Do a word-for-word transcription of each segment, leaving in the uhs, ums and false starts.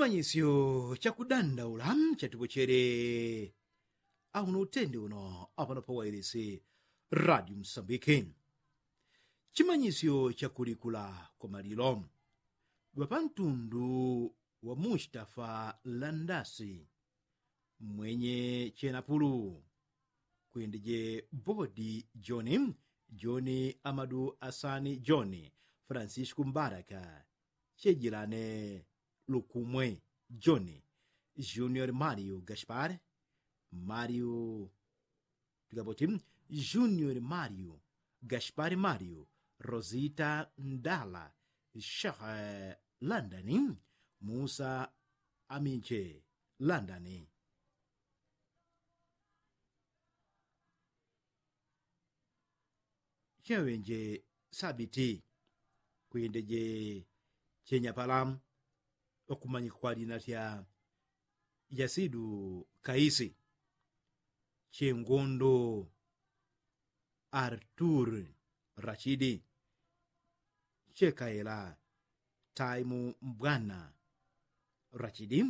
Chimanyisyo chakudandaula chatupochele auno utende uno apano pawailisi radio msambiki. Chimanyisyo chakulikula kwa malilo ŵapantundu wa mustafa landasi mwenye chenapulu kwindeje bodi joni joni amadu asani joni francisco mbaraka chejilane lukumwe joni junior mario gaspar mario tigaboti junior mario gaspar mario rosita ndala shekh landani musa aminche landani cheŵenje sabiti kwindeje chenyapala ŵakumanyika kwa lina lya yasidu kaisi chengondo artur rachidi chekaela taimu mbwana rachidi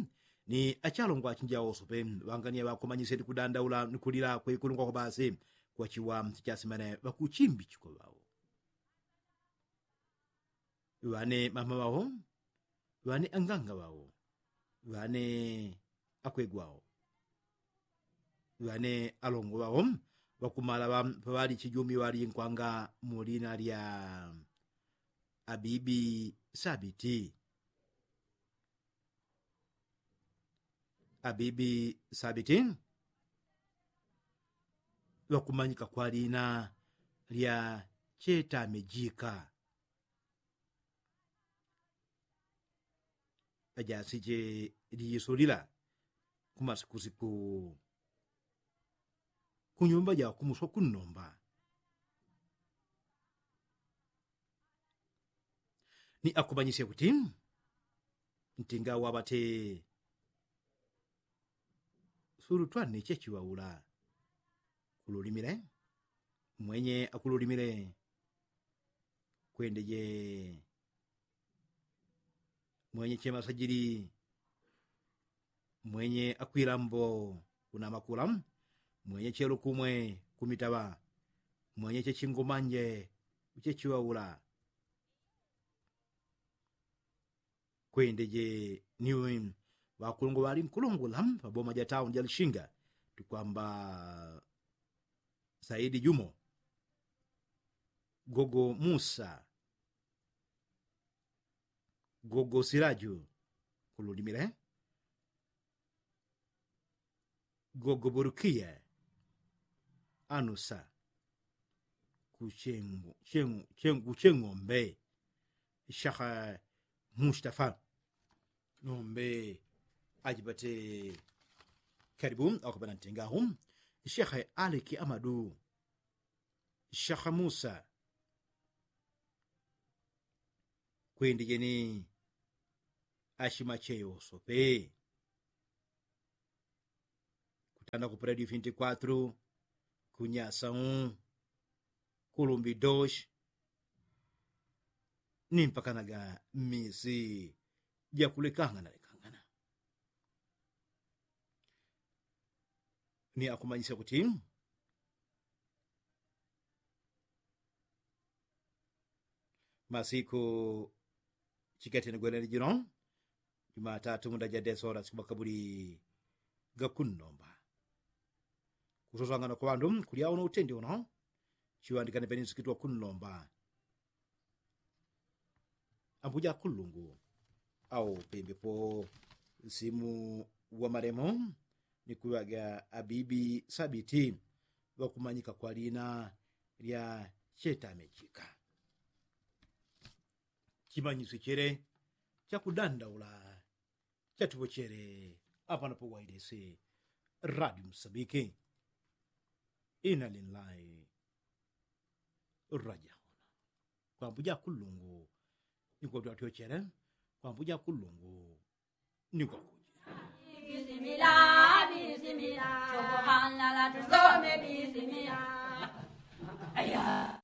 ni achalongwa achinja oso pe ŵangania ŵakomanyisye ni kudandaula ni kulila kwekulungwako basi kwachiwa chichasimane ŵakuchimbichikwa ŵao ŵane mama ŵao ŵane anganga ŵao ŵane akwegwao ŵane alongo ŵao ŵakumala ŵa paŵali chijumi ŵalinkwanga mu lina lya abibi sabiti abibi sabiti ŵakumanyika kwa lina lya chetamejika ajasije liyisulila kumasikusiku kunyumba jakumuswa kunnomba ni akumanyisya kuti ntinga waŵate sulutwane chechiŵaula kululimile mwenye akululimile kwendeje mwenye chemasajili mwenye akwilambo kunamakula mwenye chelukumwe kumitaŵa mwenye chechingomanje uchechiŵaula kwendeje niwe ŵakulungwa ŵali nkulungula paboma ja tauni ja lishinga tukwamba saidi jumo gogo musa gogo silaju kululimile gogo burukiya anusa kuchengu chengu chengu kucheng'ombe shekhe mustafa nombe ajibate karibu akubana ntengahu shekhe aliki amadu shekhe musa kwendejeni ashimacheyo sope kutanda ku predio vinti kwatru kunyasa un kulumbi dos ni mpakanaga misi jakulekangana lekangana ni akumanyisya kuti masiku chikatene gwenene jino jumatatu munda ja desora siku makabuli gakunnomba kusoswangana kwa ŵandu kulya uno utende uno chiŵandikane peni nsikitwa kunnomba ambuja kulungu au pembepo nsimu wa malemo ni kuŵaga abibi sabiti ŵakumanyika kwa lina lya chetamechika chimanyisyo chele chakudandaula chatupochele apano powailesi radio msambiki ina linlai rajauna kwambuja kulungu nikotwatyochele kwambuja kulungu nikwakuja bisimila bisimila sokohanlala tusome bisimila aya